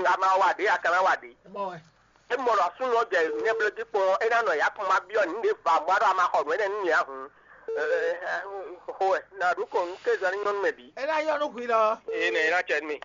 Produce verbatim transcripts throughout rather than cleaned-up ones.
a ma wa ɖě, a ka ná wa ɖě. Mɔ wɛ. É mɔ ɖɔ súnnu ɔ́ jɛ nɛblójí kpɔn ɔ́, é ná nɔ yǎkun ma byɔ́ nǔ ɖě va bɔ a ɖɔ a ma xɔ nǔ énɛ́ nú mì ǎ hǔn. Xo wɛ, nǎ ɖu kɔ nú kézɔ ní nyɔ́ nú mɛ bǐ. É ná nyɔ́ nú hwi lɔ. Ée nɛ é ná cɛ nú mì.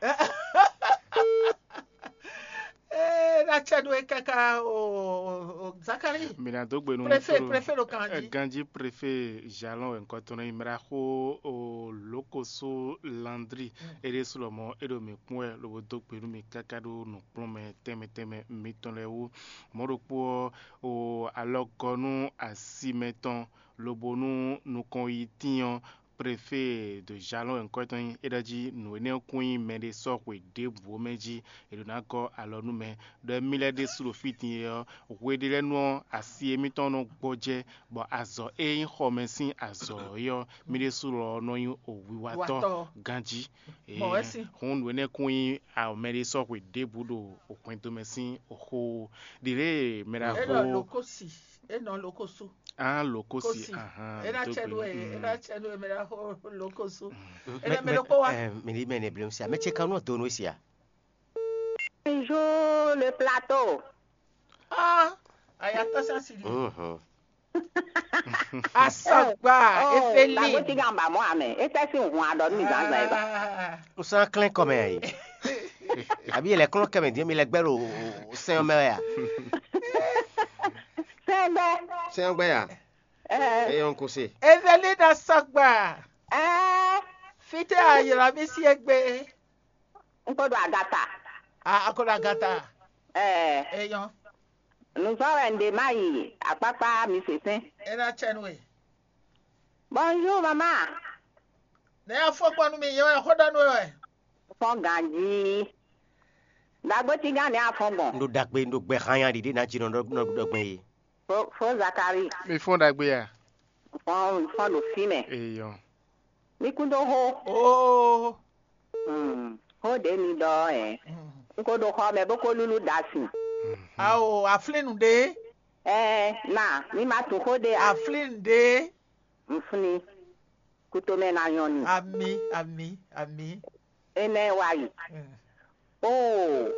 É ná cɛ nú we káká o, o, o Zakari. Mi ná dó gbe nú Préfet, préfet ɖo kan jí. Ganjí préfet Jalɔn wɛ ŋkɔ tɔn nɔ nyí mraxó o Lokoso Landri. É ɖésú lɔmɔ̌ é ɖo mǐ kpɔ́n wɛ lobo dó gbe nú mì káká ɖó nǔkplɔ́nmɛ tɛnmɛ tɛnmɛ mitɔn lɛ́ɛ wú. Mɔ̌ ɖokpó ɔ́, o alɔgɔ́nú asi mɛtɔn lobo nú nukɔn yi tín ɔ́, préfet de Jalɔn wɛ ŋkɔ tɔn nyí. É ɖɔ jí nǔ énɛ́ kún nyí mɛɖé sɔ́ xwe ɖěbǔ mɛ jí è ɖǒ ná gɔ́ alɔ nú mɛ. Ɖɔ émí lɛ́ɛ ɖésú ɖo fí din é ɔ́, hwe ɖé lɛ́ɛ nu ɔ́, asi émítɔn nɔ gbɔjɛ́, bɔ azɔ̌ e nyí xɔmɛ sín azɔ̌ é ɔ́, mí ɖésú lɔ nɔ nyí wiwatɔ́ ganjí. Hǔn nǔ énɛ́ kún nyí mɛɖé sɔ́ xwe ɖěbǔ ɖo hwɛndo mɛ sín xó. Ɖiɖe mɛ ɖaxó. Enɔ lokosi, enɔ lokosu. Ah, lokosi. Kosi. Ahán, é ná cɛ nú ɛ, é ná cɛ nú ɛ mɛ ɖaxó lokosu. Enɛ mɛ ɖokpó wa. Mɛ ɖi mɛ ne blem sia. Mɛ ce kan nɔ do nú sia. Bonjour le plateau. Ah, ayatɔ sasi di. Mhm. Asɔgba, efeli. Dagoti gan ba mɔ amɛ. Ete si hun adɔ mi zan zan eba. Ah. O san klɛn kɔmɛ ayi. Abi yɛlɛ klɔn kɛmɛ diɛ mi lɛ gbɛ lo sɛn mɛ ya. Sɛn bɛ. Sɛn gbɛ ya. Eh. Eyɔn kose. Efeli na sɔgba. Eh. Fite ayɔlɔ mi si egbe. N ko ɖo agata. A a ko ɖo agata. Ɛɛ. Eyɔn. Nuzɔ́ wɛ n ɖe má yi akpákpá mi sɛsɛn. E ná cɛ nú we. Bonjour maman. Ne y'a fɔ kpɔn nú mi yɛ wɛ xó ɖɔ nú we wɛ. Fɔn ganji. Dagbo ti gán ne a fɔn gbɔn. N ɖo dagbe n ɖo gbɛ xanya ɖiɖi ná jí nɔ ɖɔ gbɛn yi. Fo fo Zakari. Mi fɔn ɖagbe ya. Fɔn fɔn ɖo fí mɛ. Eyɔn. Mi kún dó xó. Oo. Hmm, xó ɖě mi ɖɔ ɔ́ hɛn. Un ko ɖo xɔ mɛ bó ko lúlú ɖa sin. Ao, aflín nǔɖé. Ɛɛ, na, mi ma tunwun xó ɖé a? Aflín nǔɖé. Un flín. Kutomɛ ná nyɔ́ ni. Ami, ami, ami. Énɛ́ wá yi. Mm. Oo,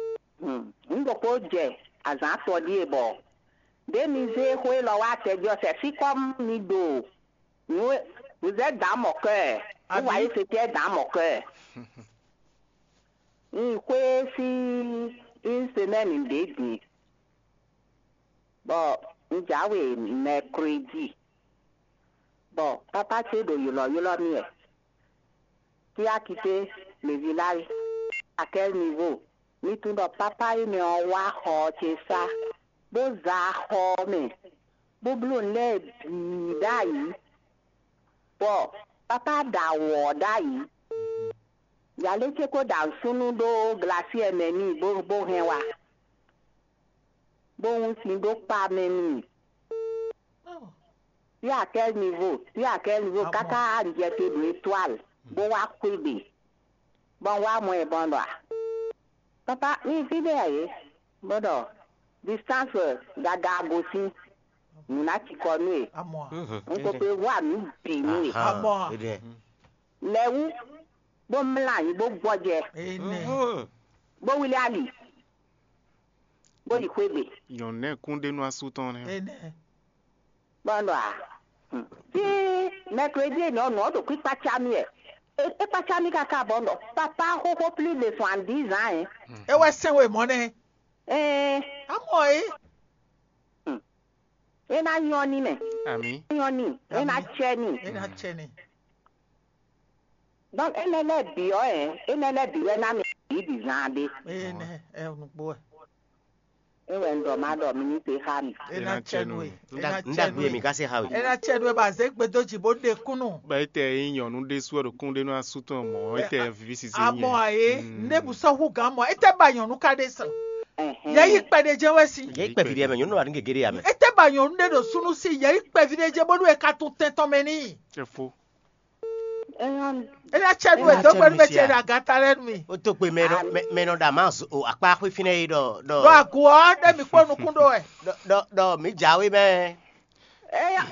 hmm, un ɖokpó jɛ azǎn atɔn ɖíe bɔ ɖě mi zé xó élɔ́ wá tɛjɔsɛ fí kɔ́ mi ɖo. Vous êtes dans mon cœur. Vous voyez ce qui est dans mon cœur. Un xwé sín une semaine ɖě din. Bɔ un jǎwe mercredi. Bɔ papa ce ɖo ylɔ̌ylɔ́ mì wɛ. Qui a quitté le village? À quel niveau? Mi tunwun ɖɔ papa énɛ́ ɔ́ wá xɔ ɔ́ ce sá, bó za xɔ ɔ́ mɛ, bó bló nǔ lɛ́ɛ bǐ ɖ'ayǐ, bɔ papa ɖa wǔ ɔ́ ɖ'ayǐ. Yalé ce ko ɖa nǔsúnnú ɖó glasiɛ mɛ n'i bó bó hɛn wá, bó wún sin ɖó kpa mɛ n'i. Fí à quel niveau? Fí à quel niveau? Káká un jɛ te ɖo étoile bó wá xwé gbe, bɔ un wá mɔ ɛ bɔ un ɖɔ a? Papa, mi fí ɖé a yě? Bó ɖɔ distance gaga gosín, nǔ ná cikɔ nú e. Amɔ. Un ko pe wá nǔ bǐ nú e. Amɔ. Lɛ wú bó mlá anyi bó gbɔjɛ, Ene. Bó wlí ali, bó yi xwé gbe. Nyɔ̌nu nɛ́ kún ɖe nú asú tɔn nɛ́. Ene. Bɔn ɖɔ a, tí mɛkredi e nɔ nɔ ɖo kpíkpá cá mì wɛ, é kpácá mì káká bɔn ɖɔ papa xóxó plus de soixante-dix ans. Hein. É wɛ sɛn we mɔ nɛ. Ɛɛ, Amɔ é. É ná nyɔ ní mɛ. Ami. Nyɔ ní, é ná Ami. Tsɛ ní. É ná tsɛ ní. Donc énɛ́ lɛ́ɛ bǐ ɔ́, ɛ énɛ́ lɛ́ɛ bǐ wɛ ná mi bǐ bǐ zán ɖé. Énɛ́ ɛ nukpó ɛ. É wɛ un ɖɔ má ɖɔ mi ní se xá mi. É ná tsɛ nú we. É ná Nda tsɛ nda nú gbe we. Mi ka se xa we. É ná tsɛ nú we bɔ azě gbedo jì bó ɖe kúnnù. Bɔ étɛ yí nyɔ̌nu ɖésú ɔ́ ɖo kún ɖé nú asú tɔn mɔ̌, étɛ vǐ sisi Amɔ nyɛ. Ayé, Mm. Ndé bǔ sɔ́ hú gǎn mɔ, étɛ́ ba nyɔ̌nu ka ɖe sɔ? Ɛhɛn. Yɛ yí kpɛɖé jɛ wɛ si. Yɛ kpɛ vi ɖe mɛ nyɔnu wa ní gege ɖe ya mɛ. Étɛ́ ba nyɔ̌nu ɖé ɖo súnú sí, yɛ yí kpɛ vi ɖé jɛ bónú é ka tún tɛn tɔn mɛ n'i. Cɛfó. Eyɔn. É ná tsɛ nú Ena ɛ dó tsɛ gbɛɖú nú mɛ sia. Tsɛ ɖe agata lɛ́ɛ nú mi. Ó tó gbe mɛ nɔ mɛ mɛ nɔ ɖa má zo o akpá xwé fínɛ́ é ɖɔ ɖɔ Ɖo agu ɔ́, ɖé mi kpó nukún ɖó wɛ. Ɖɔ ɖɔ ɖɔ mǐ jǎwe mɛ. Eya.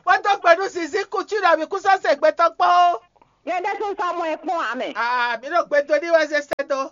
Wọ́n tó gbẹ̀dú sisi kú tí ìlú àbí kú sọ́sẹ̀ gbẹtọ́ kpọ́. Yẹn dẹ́ tún sọ ọmọ ẹ kún àmì. Ah, mi ɖo gbedo ní wá ṣe sẹ́dọ̀.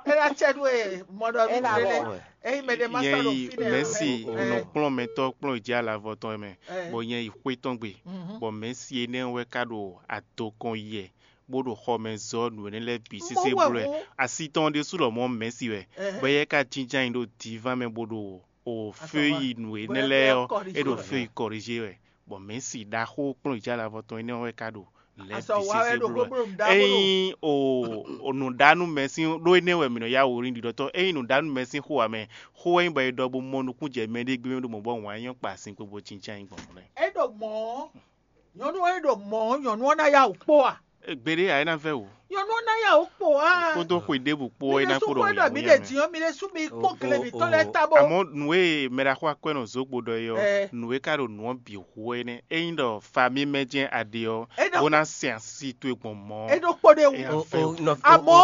É ná cɛ nú e mɔ ɖɔ mí lélẹ̀. Ényí mɛ ɖé ma sɔ́ ɖo fínɛ́ ǎ, mɛ̌si nɔ kplɔ́n mɛtɔ́ kplɔ́n jí alavɔ tɔn mɛ, bɔ nyɛ yi xwé tɔn gbe, bɔ mɛ̌si énɛ́ wɛ ka ɖo adokɔn yɛ, bó ɖo xɔ mɛ zɔ́ nǔ énɛ́ lɛ́ɛ bǐ sésé bló wɛ. Asi tɔn ɖésú lɔmɔ̌ mɛ̌si wɛ, bɔ éyɛ́ ka jínjɔ́n ayǐ ɖo dǐván mɛ bó ɖo o fé yi nǔ énɛ́ lɛ́ɛ ɔ́, é ɖo fé yi kɔrìjé wɛ, bɔ mɛ̌si ɖaxó kplɔ́n jí alavɔ tɔn énɛ́ wɛ ka ɖo lɛ̌ bǐ sésé bló wɛ. Ényí o nǔɖánú mɛ sín ɖó énɛ́ wɛ mǐ nɔ yá wǔ rin ɖiɖɔtɔ́, ényí nǔɖánú mɛ sín xó ǎ mɛ, xó wɛ nyí bɔ è ɖɔ bó mɔ nukúnjɛ mɛɖé gbé mɛ ɖo mɔ̌ bɔ wǎn nyɔ́ kpa sin kpo bó cíncan nyí gbɔn mɔ̌ lɛ́ɛ. É ɖo mɔ̌, nyɔ̌nu e ɖo mɔ̌, nyɔ̌nu ɔ́ ná yá wǔ kpó a? Gbeɖé ǎ é ná vɛ́ wǔ. Nyɔ̌nu ɔ́ ná yá wǔ kpó a? Kpódó xwe ɖěbǔ kpó é ná kpo ɖɔ wǔ. Mi ɖe dǐn ɔ́, mi ɖe sú mi kpó gleví tɔn lɛ́ɛ ta bɔ. Àmọ́ nǔ e mɛ ɖaxó akwɛ́ nɔ zǒgbo ɖɔ é ɔ́, nǔ e ka ɖo nǔ ɔ́ bǐ hu wɛ nɛ́. Ényí ɖɔ fa mí mɛ jɛ́n a ɖe ɔ́, bó ná sɛn asi towe gbɔn mɔ̌. É ɖo kpó ɖe wú. Àmọ́,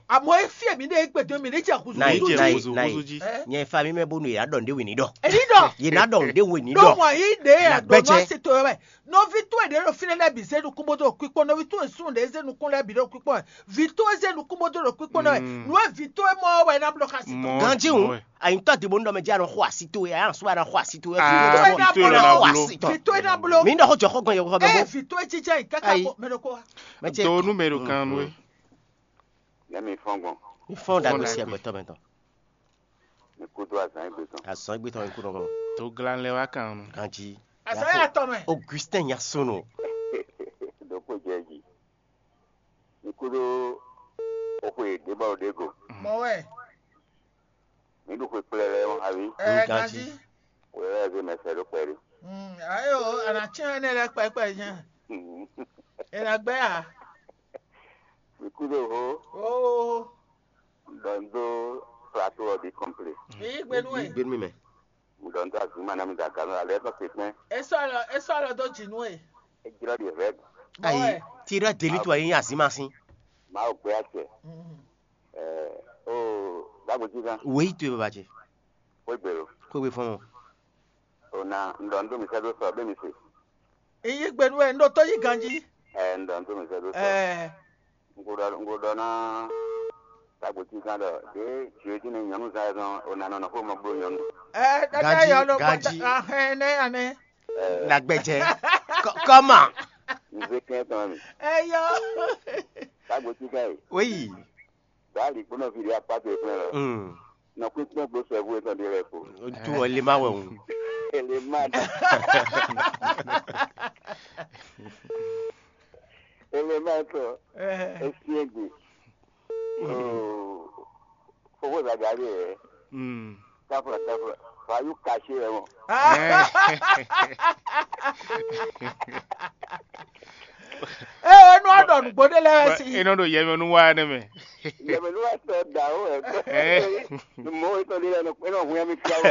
àmọ́ é fí e mi ɖe é gbɛdɔ́ mi ní jɛ húzú. Nayi, nayi, nayi. Nyɛ fa mi mɛ bónú yě ná ɖɔ nǔɖé wě ní ɖɔ. Èyí ɖɔ. Yě ná ɖɔ nǔɖé wě ní ɖɔ. Ɖó wọ́n yí ɖe Nà gbɛ́jɛ. Àgbọ̀nmọ́ sí to wɛ. Nɔví towe ɖě ɖo fínɛ́ lɛ́ɛ bǐ zé nukún bó dó ɖo kpíkpɔ́n, nɔví towe súnnu ɖě zé nukún lɛ́ɛ bǐ ɖo kpíkpɔ́n wɛ. Vǐ towe zé nukún bó dó ɖo kpíkpɔ́n ná wɛ. Nǔ e vǐ towe mɔ ɔ́ wɛ é ná bló xá sí tɔn. Ganjí hǔn, àyíntɔ́ din bó nú ɖɔ mɛ jí a nɔ xo así towe, a nɔ sú a nɔ xo así towe. Vǐ towe ná bló. Vǐ towe ná bló. Mi ɖɔ xó jɔ xó gbɔn yɛ xó gbɔn. Ɛ vǐ towe jijɛ yi káká Ayi. Ko mɛ ɖo kó wa. Mɛ ce. To nú mɛ ɖo kan nú é. Nɛ mi fɔn gbɔn. Mi fɔn ɖagbe sí agbɛtɔ mɛ tɔn. Mi kú dó azán égbé tɔn. Azán égbé tɔn mi kú nɔ gbɔn. To glan lɛ wá kan nú. Ganjí. Azán yà tɔ mɛ. Augustin Yasono. Dókpó jɛ jí. Mi kú dó oxwe débɔ ɖé go. Mɔ wɛ. Mi ɖu xwe kplɛ lɛ ɔ́, abi. Ɛ Ganjí. Ganjí. Wò lɛ́ zé mɛ sɛ́ ɖó kpɛɖé. Mm, ayo, a nà cyɔ́n énɛ́ lɛ́ɛ kpɛkpɛ nyɛ. È nǎ gbɛ́ a? Mi kú dó hó. Oo. Ɖɔ n dó plateau ɔ́ bǐ kɔnplé. Èyí gbénú ẹ̀. Gbénú mi mɛ. Ɖɔ n dó azǐma ná mi da gǎn alɛ tɔn se kpɛn. É sɔ́ alɔ é sɔ́ alɔ dó jǐ nú ẹ̀. É jlɔ́ ɖi rɛd. Ayi, tirɔ delitu ayi azima sin. Mawu gbé acɛ. Mm. Ɛ o dagbo jí gán. Wèyí tu baba jɛ. Xwé gbèrò. Xwé gbé fɔn. O na n ɖɔ n dó mi sɛ́ dó sɔ bẹ́ẹ̀ mi se. Èyí gbénú ẹ̀ ń ɖo tó yí ganjí. Ɛ n ɖɔ n dó mi sɛ́ dó sɔ. Ɛ. N ko ɖɔ n ko ɖɔ ná tagbo cí gán ɖɔ ɖě jǐ é jí nɛ nyɔ̌nu zán ɛ zɔn o na nɔ nɔ xó mɔ gbó nyɔ̌nu. Ɛ ɖaɖa Ganjí, yɔ ló ganjí. Gbata ahɛn nɛ anɛ. Ɛ Nagbɛjɛ. Kɔ- Kɔma. N zé kɛn tɔn mi. Ɛ yɔ. Tagbo cí gán yi. Wéyi. Báàlì gbóná fi ɖe akpá tó ìpínlẹ̀ lọ. Mm. Nɔ kpínkpɔ́n gbó sɛ́bù é tɔn ɖe lɛ kpo. Tu ɔ lè má wẹ̀ wù. Ele má dá. Ele má tɔ. Ɛ. Esi egbe. Oo. Fofo zagabe yɛ. Mm. Tafla tafla. Fa yú kashi yɛ mɔ. Ɛ. Ee, nú a ɖɔ nǔgbó ɖé lɛ́ɛ wɛ sí. E nɔ ɖo yɛmɛnu wa ne mɛ. Yɛmɛnu wa sɔ da o ɛ. Ɛ. Mɔ etɔn ɖé lɛ nɔ hu yɛmi fia o.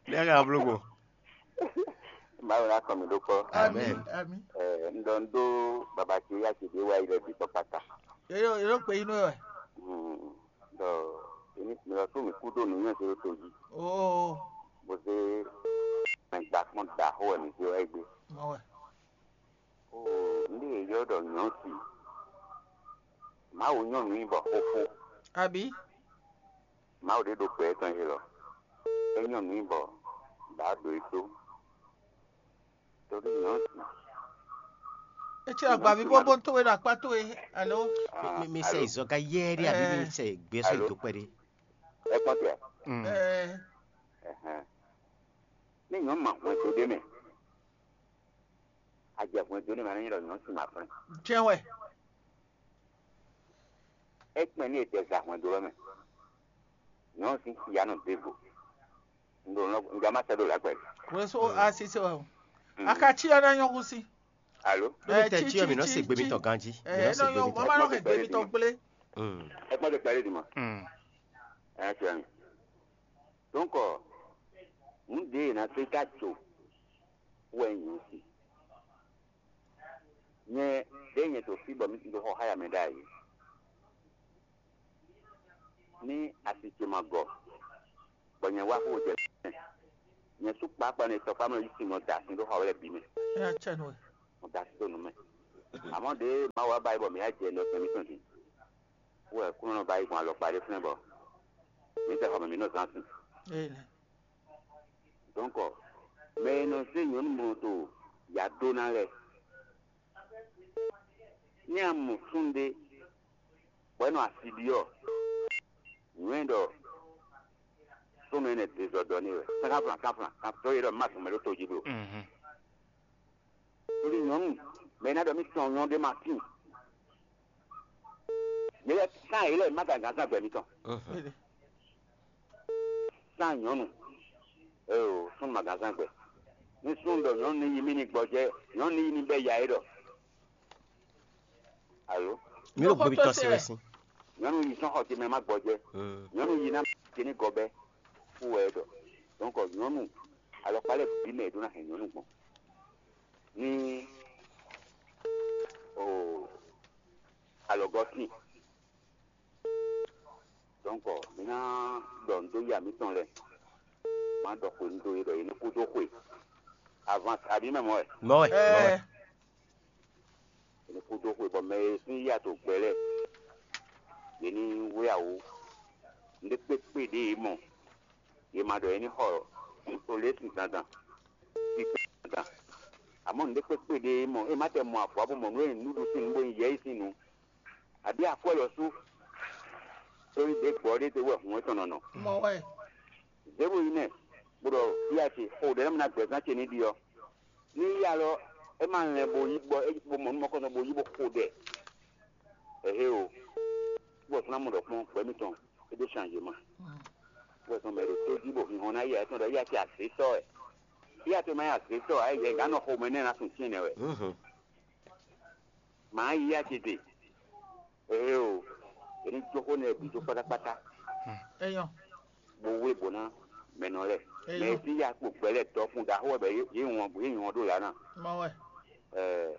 Ne ka blo ko. Mawu na kɔ mi ɖó kpɔ. Amen. Amen. Ɛ, n ɖɔ n ɖó baba ce ya ce ɖé wa yi lɛ bi tɔ kpata. Yóò yóò pé inú ẹ. Mm. Ɖɔ èmi mi lɔ tó mi kú ɖó nǔnywɛ́ zé ɖó to jí. Oo. Bó zé mɛ gba kpɔ́n ɖaxó wɛ mi zé wá yi gbé. Mɔ wɛ. Oo, ndé e yɔ ɖɔ nyɔ̌si. Mawu nyɔ́ nǔ nyi bɔ xóxó. Abǐ. Mawu ɖé ɖo gbɛ tɔn élɔ́. É nyɔ́ nǔ nyi bɔ ɖǎ ɖo é tó. Torí nyɔ̌si. Etsɛ agbavi bó bó towe ɖo akpá towe alo. Ah, Mi mi sɛ alo. Izɔ ka yɛ ɖe abi mi Ɛɛ. Sɛ gbé sɔ Alo. Ido kpɛ ɖe. Ɛ kpɔ́n tɛ. Mm. Ɛɛ. Ɛhɛn. Ní nyɔ̌ ma hwɛndo ɖé mɛ. Ajɛ hwɛndo ɖé mɛ anɔ nyi ɖɔ nyɔ̌si ma flɛn. Jɛn wɛ. Ekpɛn ní ètè zǎ hwɛndo lɔ mɛ. Nyɔ̌nu sín xiya nɔ dó ego. Un ɖo nɔ un ja ma sɛ ɖo lǎgbɛ. Wɛso a sise wɛ o. Mm. A ka cí ɔ́ ná nyɔ́ húsí. Alo. Lórí Ɛ, tɛ cí, tí ɔ cí, mǐ nɔ tí, se gbe tí. Mitɔn ganjí. Ɛ, Mǐ nɔ se nɔ gbe nyɔ́ mitɔn. Wọ́n má nɔ hɛn gbe mitɔn gblé. Mm. Ẹ kpọ́n tẹ kpɛɖé dì mɔ. Mm. Ẹ tiẹ̀ mi. Donc, nǔ ɖě e ná sɔ́ yi ka tso wɛ nyǐ si. Nyɛ ɖěe nyɛ ɖo fí bɔ mǐ ɖo xɔ xá ya mɛ ɖ'ayǐ. Ní asi ce ma gɔ, bɔ nyɛ wá xó jɛ mɛ. Nyɛ sú kpákpá nɛ tɔkpá mɛ yí sin nɔ da sin ɖó xɔ lɛ́ɛ bǐ mɛ. Ɛ, acɛ nɔ. Mo da sin ɖó nǔ mɛ. Amɔ̌ ɖě Mawu wá ba yi bɔ mǐ yá jɛ nɔ tɛn mǐtɔn jí. Wú wɛ kúnɔ nɔ ba yi gbɔn alɔkpa ɖé flɛ́n bɔ mǐ tɛ xɔ mɛ mǐ nɔ zán sin. Dɔ̌nkɔ mɛ e nɔ zé nyɔ̌nu mɔ to yǎ dó ná lɛ́ɛ, ní a mɔ súnnu ɖé bɔ é nɔ asi ɖi ɔ́, nǔ e ɖɔ súnnu énɛ́ dezɔdɔ n'i wɛ. Sɛ́n kanflan kanflan kan tɔ́ e ɖɔ má zɔn mɛ ɖó to jí blo. Tóli nyɔ̌nu mɛ e ná ɖɔ mì tɔn nyɔ́ ɖé ma tíin. Mǐ lɛ́ sán yě lɛ́ɛ má gǎngán zán gbɛ mitɔn. Sán nyɔ̌nu, eo súnnu ma gǎn zán gbɛ. Ní súnnu ɖɔ nyɔ̌nu ní yi mì ní gbɔjɛ́, nyɔ̌nu ní yi ní bɛ́ ya é ɖɔ. Alo, Mí ɖo gbébi tɔ́ sí wɛ sín. Nyɔ̌nu yi sɔ́n xɔ ce mɛ má gbɔjɛ́. Nyɔ̌nu yi ná ce ní gɔbɛ́, fú wɛ é ɖɔ. Donc nyɔ̌nu alɔkpa lɛ́ɛ bǐ mɛ è ɖó ná hɛn nyɔ̌nu gbɔn. Ní o alɔgɔ́ tíin. Donc mǐ ná ɖɔ nǔ dó ya mǐtɔn lɛ́ɛ. Má ɖɔ xwe nú dó yě ɖɔ yě ní kú dó xwe. Avance abǐ mɛ mɔ wɛ. Mɔ wɛ, mɔ wɛ. Yě ní kú dó xwe bɔ mɛ e sín yá to gbɛ lɛ́ɛ, yě ní wlí awǒ. Nǔɖé kpékpé ɖě yě mɔ, yě ma ɖɔ yě ní xɔ olě sin dandan. Sin dandan. Amɔ̌ nǔɖé kpékpé ɖě yě mɔ, é má tɛ mɔ avɔ bó mɔ nǔ e nǔɖuɖu sín nǔ bó nyí yɛ̌yi sín nǔ. Abǐ akwɛ́ lɔ sú. Tóli ɖě gbɔ ɖé te wɛ hǔn etɔn nɔ nɔ. Mɔ wɛ. Zěbu yi nɛ, bó ɖɔ yá ce xo ɖɛ̌ lɛ́ɛ mɛ ná gbɛ̌zán ce ní ɖi ɔ́. Ní yá lɔ, é má lɛn bó yí bɔ é bó mɔ nú mɔkɔ́nɔ bó yí bó xo ɖɛ. Ɛhé o, bó ɔ́ fún ná mɔ ɖɔ kpɔ́n gbɛ́ mitɔn é ɖó changemã. Bó ɔ́ tɔn mɛ ɖo tó jí bó hinhɔn ná yá, é tɔn ɖɔ yá ce azě sɔ́ wɛ. Yá ce má nyí azě sɔ́ ǎ, yɛ gǎn nɔ xomɛ nɛ́ ná sun tínɛ́ wɛ. Mǎ yí yá ce ɖe. Ee o, è ní jó xó nɛ́ bǐ dó kpátákpátá. Eyɔn. Bó wé bǒ ná mɛ nɔ lɛ́ɛ. Mɛ Eyɔn. Tí yá kpo gbɛ lɛ́ɛ dɔkun ɖaxó wɛ bɛ yé yé wɔn yé wɔn ɖó yǎ ná. Mɔ wɛ. Ɛɛ,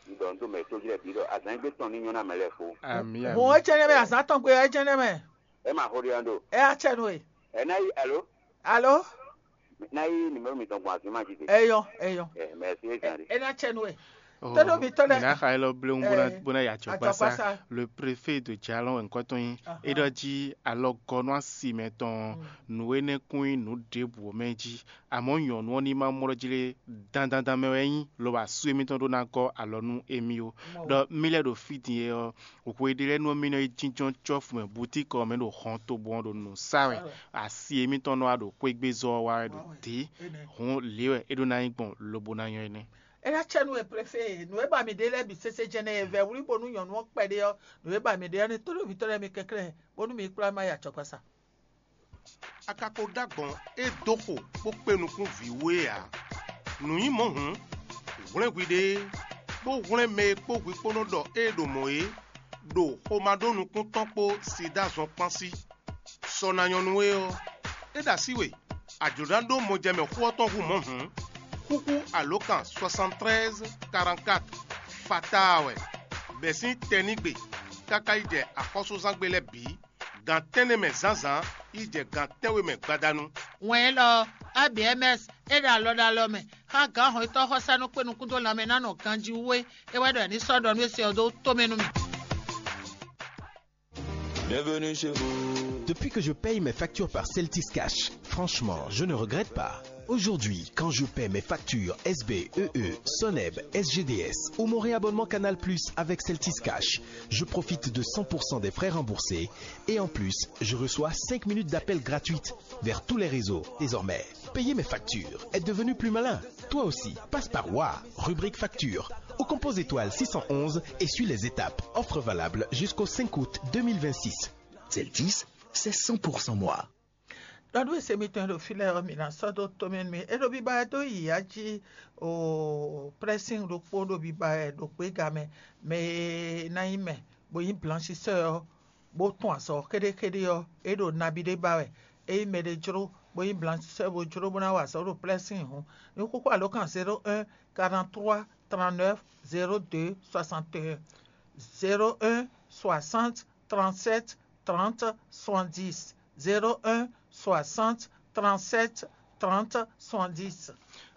un ɖɔ un dó mɛ tó jí lɛ́ɛ bǐ ɖɔ azǎn gbé tɔn ní nyɔ́ ná mɛ lɛ́ɛ kpó. Ami ami. Hɔn é jẹ́ nɛmɛ, azǎn tɔn gbé é jẹ́ nɛmɛ. Ɛ ma xó ɖé ɔ́ ɖo. Ɛ á cɛ nú e. Ɛ ná yí alo. Alo. Ná yí numéro mitɔn gbɔn azǐn ma jí de. Eyɔn, eyɔn. Ɛ mɛ sí é zan de. É ná cɛ nú e. Tɔ́ɖɔ́ mi tɔ́ lɛ. Mina xa élɔ́ bléwu bó ná bó ná yi acɔkpásá. Le préfet de Djalɔn wɛ ŋkɔ tɔn nyi. É ɖɔ jí alɔgɔnú asi mɛ tɔn nǔ énɛ́ kún nyí nǔ ɖěbǔ mɛ jí. Àmọ́ nyɔ̌nu ɔ́ ní má mlɔ́ jí lé dandandan mɛ wɛ é nyí, lobo asú émítɔn ɖó ná gɔ́ alɔ nú émí ó. Ɖɔ mí lɛ́ ɖo fí din é ɔ́, hwe ɖé lɛ́ɛ nú ɔ́ mí nɔ yi jínjɔ́n cɔ́fu mɛ butíkɔ ɔ́ mɛ ɖo hɔn tobo ɔ́ ɖo nǔ sa wɛ. Asi émítɔn nɔ wá ɖo xwégbézɔ́ ɔ́ wá wɛ ɖo dě. Hǔn lě wɛ é ɖó ná nyí gbɔn lobo ná nyɔ́ énɛ́. É ná cɛ nú e préfé nǔ e ba mi ɖe lɛ́ɛ bǐ sésé jɛnɛ e vɛ̌ wlí bónú nyɔ̌nu ɔ́ kpɛɖé ɔ́, nǔ e ba mi ɖe ɔ́ ní tónúvǐtɔ́ lɛ́ɛ mi kɛnklɛ́n bónú mi kplá má yi acɔkpasa. A ka ko ɖó agbɔ̌n é dó xo bó kpé nukún vǐ wú é ǎ. Nǔ nyí mɔ̌ hǔn, hwlɛ́n hwiɖée, bó hwlɛ́n mɛ e kpó hwi kpó nɔ ɖɔ ée ɖo mɔ̌ é, ɖo xomá ɖó nukún tɔn kpó sida zɔn kpán sí. Sɔ ná nyɔ́ nú we ɔ́, é ɖo así we, a jlǒ ná ɖó mɔjɛmɛ xó ɔ́ tɔn hú mɔ̌ hǔn, xúxú alǒkan soixante-treize quarante-quatre fataa wɛ, bɛ̌ sín tɛnígbe káká yi jɛ axɔ́súzángbe lɛ́ɛ bǐ, gan tɛ́nnɛ mɛ zǎnzǎn yi jɛ gan tɛ́nwe mɛ gbadanu. Wɛn élɔ́ ɔ́, A B M S é ɖo alɔ ɖo alɔ mɛ xá gǎn hɔn e tɔ́ xɔ́sá nɔ kpé nukún dó lanmɛ ná nɔ ganjí wú é, é wɛ ɖɔ è ní sɔ́ ɖɔ nú é se ɔ́ dó tomɛ nú mì. Bienvenue chez vous. Depuis que je paye mes factures par Celtis Cash, franchement, je ne regrette pas. Aujourd'hui, quand je paie mes factures S B, E E, Soneb, S G D S ou mon réabonnement Canal Plus avec Celtis Cash, je profite de cent pour cent des frais remboursés et en plus, je reçois cinq minutes d'appel gratuite vers tous les réseaux. Désormais, payer mes factures est devenu plus malin. Toi aussi, passe par Wa, rubrique facture, ou compose étoile six cent onze et suis les étapes. Offre valable jusqu'au cinq août deux mille vingt-six. Celtis, c'est cent pour cent moi. Ɖɔ nú e se mitɔn e ɖo fí lɛ́ɛ ɔ́, mǐ ná sɔ́ dó tomɛ nú mi. É ɖo biba wɛ dó yi ají o prɛ́sín ɖokpó ɖo biba wɛ ɖo gběga mɛ, mɛ e ná nyí mɛ bó nyí blanchisɛ́ ɔ́, bó tún azɔ̌ xéɖéxéɖé ɔ́, é ɖo nabí ɖé ba wɛ. Ényí mɛɖé jló bó nyí blanchisɛ́ bó jló bó ná wa azɔ̌ ɖo plɛ́sín hǔn, ní xúxú alǒkan zéro un quarante-trois trente-neuf zéro deux soixante et un, zéro un soixante trente-sept trente soixante-dix, zéro un soixante trente-sept trente soixante-dix.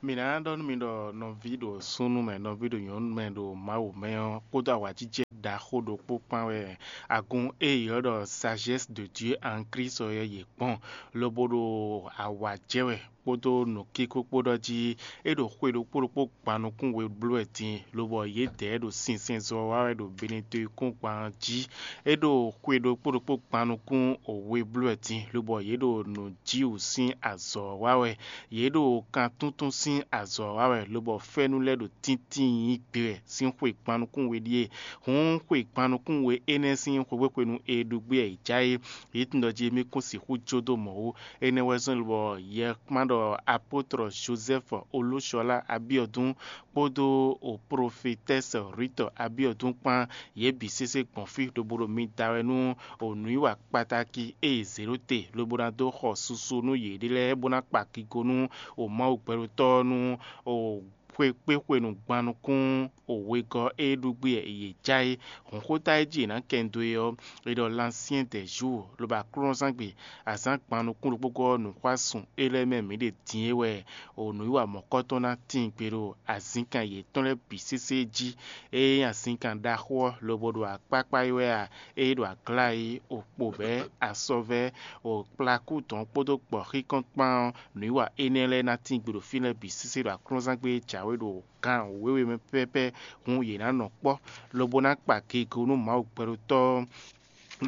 Mǐ ná ɖɔ nú mi ɖɔ nɔví ɖo súnnu mɛ, nɔví ɖo nyɔ̌nu mɛ ɖo Mawu mɛ ɔ́, kpódó awǎjijɛ ɖaxó ɖokpó kpán wɛ agun e è ylɔ́ ɖɔ Sagesse de Dieu en Christ ɔ́ yɛ yě kpɔ́n, lobo ɖo awǎ jɛ wɛ kpódó nǔkíkó kpó ɖɔ jí é ɖo xwe ɖokpó ɖokpó gban nukún we bló wɛ din, lobɔ yědɛɛ ɖo sinsɛnzɔ wa wɛ ɖo Benetɔn kún gban jí. É ɖo xwe ɖokpó ɖokpó gban nukún we bló wɛ din, lobɔ yě ɖo nǔjíwǔ sín azɔ̌ wa wɛ. Yě ɖo kan túntún sín azɔ̌ wa wɛ, lobɔ fɛ́nú lɛ́ɛ ɖo tíntín nyi gbe wɛ sín xwe gban nukún we ɖíe. Hǔn xwe gban nukún we énɛ́ sín xwexwéxwenu e ɖu gbé wɛ è já é, yě tunwun ɖɔ jí émí kún sixú jó dó mɔ̌ ó. Énɛ́ wɛ zɔ́n bɔ yɛ kpán ɖɔ apótlɔ Jozɛ́fu Olúshɔlá Abiɔdún kpódó o profetɛ́si Rwitɔ Abiɔdún kpán, yě bǐ sésé gbɔn fí lobo ɖo mi da wɛ nú o nǔwiwa kpatáki e è zě ɖó te lobo ná dó xɔ susu nú yěɖée lɛ́ɛ bó ná kpa kigo nú o Mawu gbɛɖotɔ́ ɔ́ nú o xwe kpé xwenu gban nukún o wegɔ́ e ɖu gbé yě já é. Hǔnxóta e jí è nǎ kɛ nyi dó é ɔ́, è ɖɔ Lansyɛ́n dɛ Zuu lobo aklúnɔzángbe azǎn gban nukún ɖokpógɔ́ nǔxwásún e lɛ́ɛ mɛ mǐ ɖe din é wɛ o nǔwiwa mɔ̌kɔ́tɔn ná tíin gbe ɖo azinkan yětɔn lɛ́ɛ bǐ sésé jí. Ée nyí azinkan ɖaxó ɔ́ lobo ɖo akpákpá é wɛ a? Ée ɖo aglá é, o kpo bɛ̌, asɔvɛ́, o kplakú dɔn kpódó gbɔ̌xíkɔ́n kpán ɔ́, nǔwiwa énɛ́ lɛ́ɛ ná tíin gbe ɖo fínɛ́ bǐ sésé ɖo aklúnɔzángbe e jǎwe ɖo gan wěwe mɛ pɛ́pɛ́, hǔn yě ná nɔ kpɔ́, lobo ná kpa gege nú Mawu gbɛɖotɔ́ ɔ́,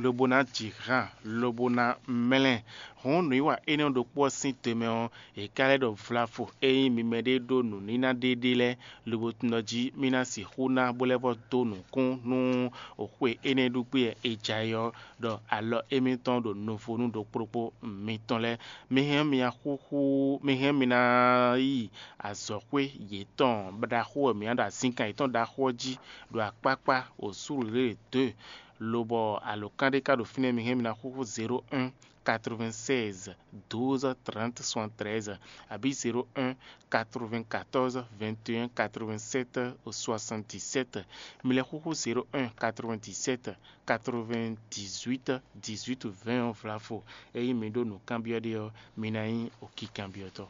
lobo ná ji han, lobo ná mlɛ́. Hǔn nǔwiwa énɛ́ ɖokpó ɔ́ sín te mɛ ɔ́, è ka lɛ́ ɖɔ vlavo e nyí mi mɛɖée ɖó nǔníná ɖéɖé lɛ́ɛ, lobo tunwun ɖɔ jí mí ná sixú ná bó lɛ́ vɔ́ dó nǔkún nú xwe énɛ́ ɖu gbé e ja é ɔ́, ɖɔ alɔ émítɔn ɖo nuvonu ɖokpó ɖokpó mitɔn lɛ́ɛ. Mi hɛn mì xúxú, mi hɛn mì ná yi azɔ̌xwé yětɔn ɖaxó wɛ mǐ ná ɖo azínkan yětɔn ɖaxó ɔ́ jí ɖo akpákpá wǒsúlǔlé dó e, lobɔ alǒkan ɖé ka ɖo fínɛ́, mi hɛn mì ná xúxú zéro un quatre-vingt-seize douze trente soixante-treize, abǐ zéro un quatre-vingt-quatorze vingt et un quatre-vingt-sept soixante-dix-sept. Mi lɛ́ xúxú zéro un quatre-vingt-dix-sept quatre-vingt-dix-huit dix-huit vingt ɔ́ vlavo. Ényí mi ɖó nǔkanbyɔ́ ɖé ɔ́, mi ná nyí okinkanbyɔ́tɔ́.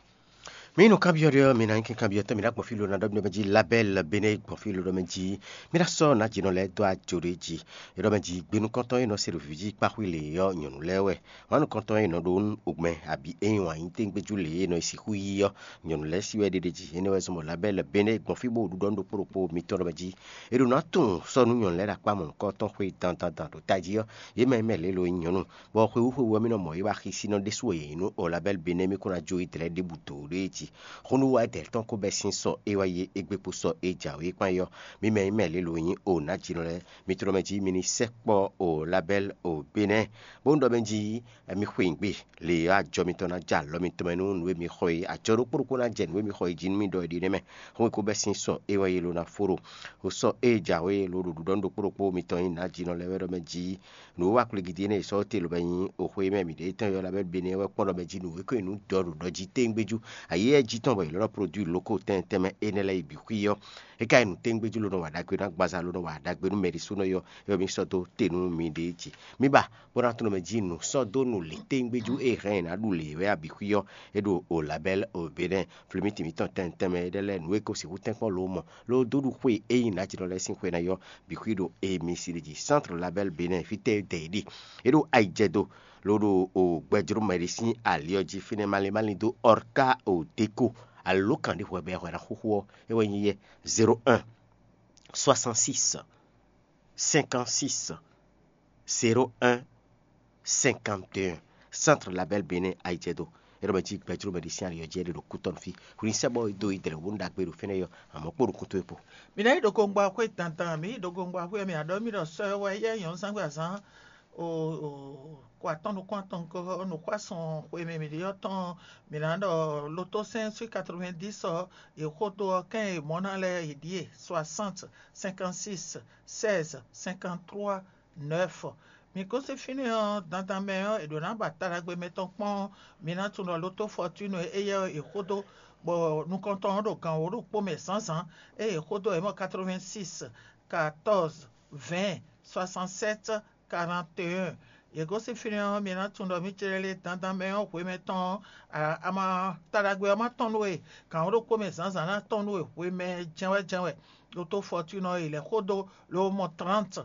Mi nukánbyɔ́ ɖé ɔ́, mi ná nyí kanbyɔ́tɔ́, mi ná gbɔn fí ló ná ɖɔ mɛ jí labɛ́l bene gbɔn fí ló ɖɔ mɛ jí. Mi ná sɔ́ nǎ jǐnɔ lɛ́ɛ dó ajo ɖé jí. É ɖɔ mɛ jí gbe nukɔntɔn e nɔ se ɖo vǐ jí kpáxwé lě ɔ́, nyɔ̌nu lɛ́ɛ wɛ. Wǎn nukɔntɔn e nɔ ɖó nú ogbɛn abǐ e nyi wǎn yí téŋgbéjú lě e nɔ yi sixú yí ɔ́, nyɔ̌nu lɛ́ɛ sí wɛ ɖéɖé jí. Énɛ́ wɛ zɔ́n bɔ labɛ́l bene gbɔn fí bó ɖuɖɔ nú ɖokpó ɖokpó mitɔn ɖɔ mɛ jí. È ɖo ná tunwun sɔ́ nú nyɔ̌nu lɛ́ɛ ɖo akpá mɔ̌hunkɔtɔn xwe dandan ɖo tají ɔ́, yě mɛ e mɛ lě lo nyí nyɔ̌nu, bɔ xwewú xwewú ɔ́ mì nɔ mɔ é wá xísí nɔ ɖésú wɛ yě nyí nú Olabɛ́li Benɛ́ mì kún ná jó yi dlɛ̌ ɖěbǔ dǒ ɖó é jí. Xónúwáyɛ́dɛ̌ tɔn ko bɛ́ sín sɔ é wá yí égbé kpó sɔ é jǎwe kpán é ɔ́, mǐ mɛ e mɛ lě lo nyí o nǎjínɔ lɛ́ɛ, mi tló mɛ jí mi ní sɛkpɔ́ Olabɛ́li o Benɛ́, bó un ɖɔ mɛ jí mi xwe nyi gbe, lě e ajɔ mitɔn ná jɛ alɔ mitɔn mɛ nú nǔ e mi xɔ é, ajɔ ɖokpó ɖokpó ná jɛ nǔ e mi xɔ é jí nú mì ɖɔ é ɖe nɛ́ mɛ. Xó e ko bɛ́ sín sɔ é wá yí lo ná fó ɖo o sɔ é jǎwe lo ɖo ɖuɖɔ nú ɖokpó ɖokpó mitɔn nyí nǎjínɔ lɛ́ɛ wɛ ɖɔ mɛ jí. Nǔ e wa kplé gidi énɛ́ e sɔ́ te lobɛ nyi oxwe e mɛ mǐ ɖe tɔn ylɔ́ labɛ́ Benɛ́ wɛ kpɔ́n ɖɔ mɛ jí nǔ e ko nyi nǔ dɔ ɖo ɖɔ jí téŋgbéjú. Ayǐ e jí tɔn bɔ è lɔ́ ɖɔ produit loko tɛn tɛnmɛ énɛ́ lɛ́ɛ yi bǐ xwí ɔ́, é ka nyí nǔ téŋgbéjú ló nɔ wa ɖagbe nú agbaza ló nɔ wa ɖagbe nú mɛɖisúnɔ yɔ, é wɔ mì sɔ́ dó te nú miɖée jí. Mi ba bó ná tunɔ mɛ jí nǔ sɔ́ dó nǔ lě téŋgbéjú e hɛn è nǎ ɖu lě wɛ abǐ xwí ɔ́, é ɖo o labɛ́l o Benɛ́. Flimiti mǐtɔn tɛn tɛnmɛ énɛ́ lɛ́ɛ nǔ e ko sixú tɛ́nkpɔ́n lo mɔ ló dó ɖu xwe e nyí nǎjínɔ lɛ́ɛ sín xwe ná yɔ bǐ xwí ɖo emi si ɖe jí. Centre labɛ́l Benɛ́ fítɛ́ dɛ yě ɖe. É ɖo ayijɛdo ló ɖo o gbɛjló mɛ ɖé sín ali ɔ́ jí fínɛ́ malín malín dó ɔrká o déko alo kǎn ɖé hwɛ bɔ è hwɛ ná xúxú ɔ́, é wɛ nyí yɛ zéro un soixante-six cinquante-six zéro un cinquante et un. Centre labɛ́l Benɛ́ ayijɛdo. É ɖɔ mɛ jí gbɛjló mɛ ɖé sín ali ɔ́ jí é ɖe ɖo kútɔ́nú fí. Hwlínsɛ́bɔ e dó yi dlɛ̌ wú ɖagbe ɖo fínɛ́ yɔ, àmọ́ kpó nukún towe kpo. Mi ná yi ɖo gongba xwé dandan, mi yi ɖo gongba xwé, mi aɖɔ mi ɖɔ sɔ wɛ yɛ nyɔ̌nu zán gbé azán o o kó atɔ́ nukún atɔn ko nukún asɔn xwe mɛ mi ɖe ɔ́ tɔn, mi ná ɖɔ lotosɛn sui quatre-vingt-dix ɔ, e xódó ɔ́ kɛn e mɔ̌ ná lɛ́ɛ e ɖíe soixante cinquante-six seize cinquante-trois neuf. Mi gosín fínɛ́ ɔ́, dandan mɛ ɔ́, è ɖǒ ná ba taɖagbe mɛtɔn kpɔ́n. Mi ná tunwun ɖɔ lotó fɔtúnu éyɛ́ ɔ́, è xódó, bɔ nukɔntɔn ɔ́ ɖo gan wǒ ɖokpó mɛ zǎnzǎn, ée è xódó ɔ́, è mɔ quatre-vingt-six quatorze vingt soixante-sept quarante et un. Yě gosín fínɛ́ ɔ́, mi ná tunwun ɖɔ mǐ céɖélé dandan mɛ ɔ́ hwemɛ tɔn ɔ́, a ma ta ɖagbe ɔ́ ma tɔn nú we, gǎn ɔ́ ɖokpó mɛ zǎnzǎn ná tɔn nú we hwemɛ jɛ́nwɛ́ jɛ́nwɛ. Ɖo tó fɔtúnɔ e lɛ̌ xó dó lobɔ mɔ tránti.